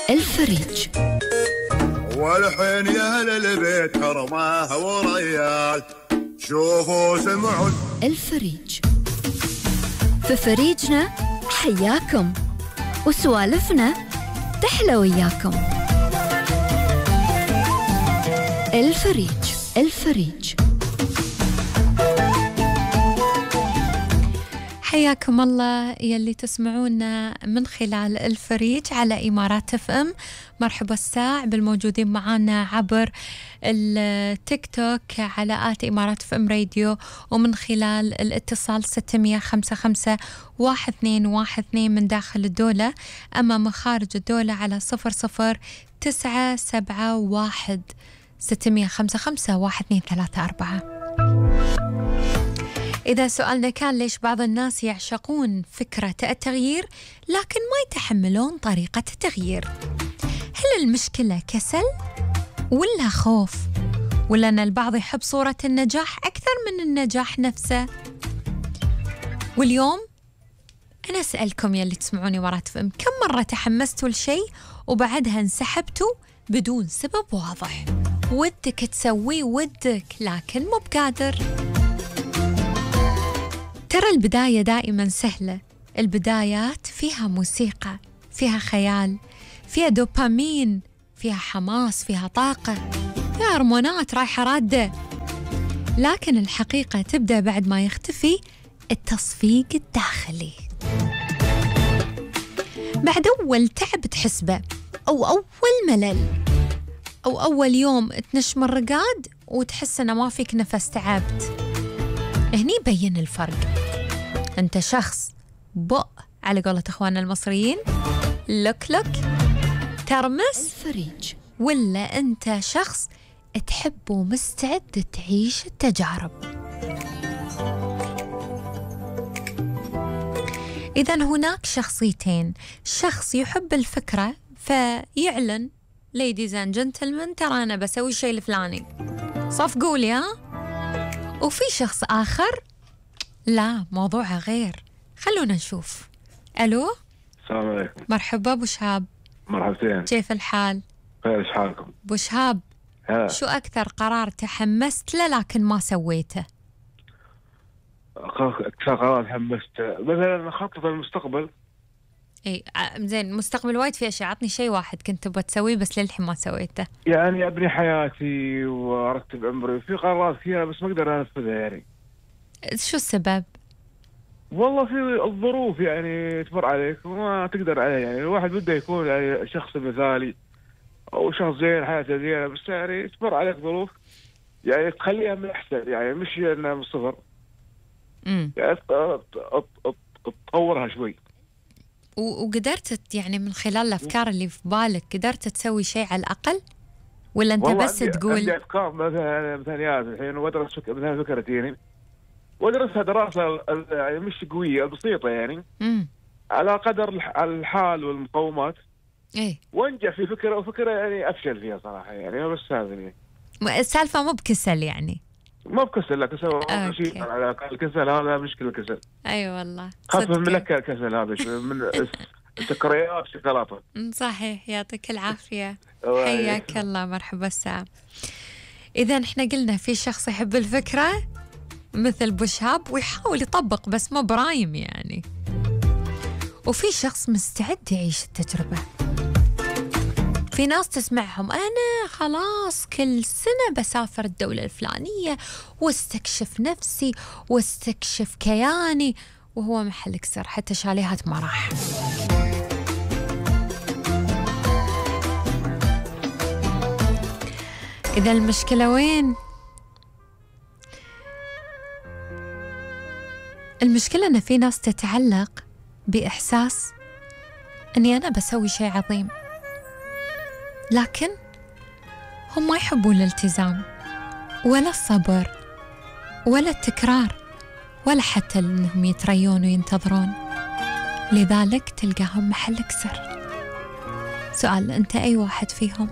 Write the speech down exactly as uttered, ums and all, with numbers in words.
الفريج. والحين يا أهل البيت حرمه وريال، شوفوا سمعوا الفريج. في فريجنا حياكم، وسوالفنا تحلى وياكم. الفريج. الفريج. حياكم الله يلي تسمعونا من خلال الفريج على إمارات اف ام. مرحبا الساع بالموجودين معنا عبر التيك توك على آت إمارات اف ام راديو، ومن خلال الاتصال ستمية خمسة خمسة واحد اثنين واحد اثنين من داخل الدولة، أما من خارج الدولة على صفر صفر تسعة سبعة واحد ستمية خمسة خمسة واحد اثنين ثلاثة أربعة. إذا سؤالنا كان ليش بعض الناس يعشقون فكرة التغيير لكن ما يتحملون طريقة التغيير؟ هل المشكلة كسل ولا خوف، ولا أن البعض يحب صورة النجاح أكثر من النجاح نفسه؟ واليوم أنا أسألكم يلي تسمعوني مرات فهم، كم مرة تحمستوا لشيء وبعدها انسحبتوا بدون سبب واضح؟ ودك تسويه ودك لكن مو بقادر. ترى البداية دائما سهلة، البدايات فيها موسيقى، فيها خيال، فيها دوبامين، فيها حماس، فيها طاقة، فيها هرمونات رايحة رادة. لكن الحقيقة تبدأ بعد ما يختفي التصفيق الداخلي، بعد أول تعب تحسبه، أو أول ملل، أو أول يوم تنش من الرقاد وتحس أنه ما فيك نفس، تعبت. هني بين الفرق، أنت شخص بق على قولة إخواننا المصريين، لك لك ترمس الفريج، ولا أنت شخص تحب ومستعد تعيش التجارب. إذن هناك شخصيتين، شخص يحب الفكرة فيعلن ladies and gentlemen ترى أنا بسوي الشيء الفلاني، صفقوا لي ها. وفي شخص آخر لا، موضوعه غير. خلونا نشوف. ألو، السلام عليكم. مرحبا أبو شهاب. مرحبتين، كيف الحال؟ خير، إيش حالكم؟ أبو شهاب، ها. شو أكثر قرار تحمست له لكن ما سويته؟ أكثر قرار تحمست مثلا خطط المستقبل. اي زين، مستقبل وايد في اشياء، عطني شيء واحد كنت تبغى تسويه بس للحين ما سويته. يعني ابني حياتي وارتب عمري، في قرارات كثيره بس ما اقدر انفذها. يعني شو السبب؟ والله في الظروف يعني تمر عليك وما تقدر عليها. يعني الواحد بده يكون يعني شخص مثالي او شخص زين، حياته زينه، بس يعني تمر عليك ظروف يعني تخليها من احسن، يعني مش انها من صفر. امم يعني تطورها شوي. وقدرت يعني من خلال الأفكار اللي في بالك قدرت تسوي شيء على الأقل، ولا أنت بس عندي تقول؟ عندي أفكار مثلا مثاليات الحين، وأدرس فك... مثلا فكرتين وأدرسها دراسة يعني مش قوية، بسيطة يعني امم على قدر الحال والمقومات. إيه، وانجح في فكرة وفكرة يعني أفشل فيها صراحة. يعني بس هذا يعني السالفة مو بكسل يعني، ما بكسل، لا كسل شيء على الكسل هذا مشكلة. الكسل أي أيوة والله، خاصة من ملكة الكسل هذا من السكريات شوكولاتة. صحيح، يعطيك العافية. حياك الله، مرحبا السلام. إذا إحنا قلنا في شخص يحب الفكرة مثل أبو شهاب ويحاول يطبق بس ما برايم يعني، وفي شخص مستعد يعيش التجربة. في ناس تسمعهم أنا خلاص كل سنة بسافر الدولة الفلانية واستكشف نفسي واستكشف كياني، وهو محل كسر، حتى شاليهات ما راح. إذا المشكلة وين؟ المشكلة أن في ناس تتعلق بإحساس أني أنا بسوي شيء عظيم، لكن هم ما يحبون الالتزام ولا الصبر ولا التكرار ولا حتى أنهم يتريون وينتظرون، لذلك تلقاهم محل كسر. سؤال، أنت أي واحد فيهم؟